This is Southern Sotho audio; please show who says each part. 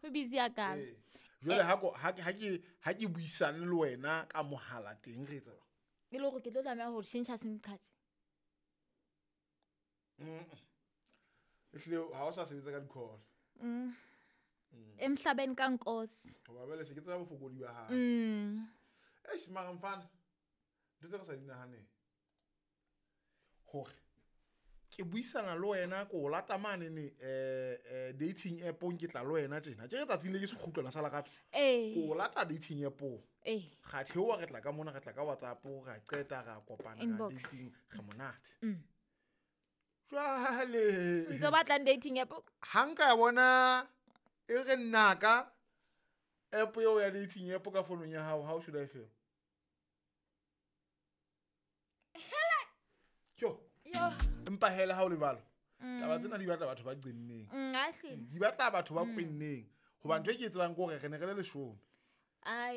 Speaker 1: Go busy ya kalo.
Speaker 2: Ee. Jwale ha ko- ha ke- ha ke ha ke buisane le wena ka mohala teng re etsa jwang?
Speaker 1: E le gore ke tlo tlameha go change sim card.
Speaker 2: Ehlile ha o sa sebetsa ka di-call.
Speaker 1: Emhlabeni ka nkosi.
Speaker 2: Hoba jwale se ke tseba bofokodi ba hao. Eish, mara mfana, ntho tse re sa di nahaneng hore ke buisana le wena ko o lata manene dating app-ong, ke tla le wena tjena ke re tsatsing le ke sekgutlwana sa lerato, ko o lata dating app-ong, ga theoha, re tla ka mona, re tla ka WhatsApp, ra qeta, ra kopana ra
Speaker 1: Inbox.
Speaker 2: dating, re monate jwale.
Speaker 1: Ntse o batlang dating app?
Speaker 2: Ha nka ya bona e re nnaka app eo ya dating app ka founung ya hao, how should I feel? Tjo.
Speaker 1: Yo.
Speaker 2: Empa hela ha o lebalo, taba tsena di batla batho ba qenneng.
Speaker 1: A hlile.
Speaker 2: Di batla batho ba kwenneng, hoba ntho e ke e tsebang ke hore re ne re le 10.
Speaker 1: Ai.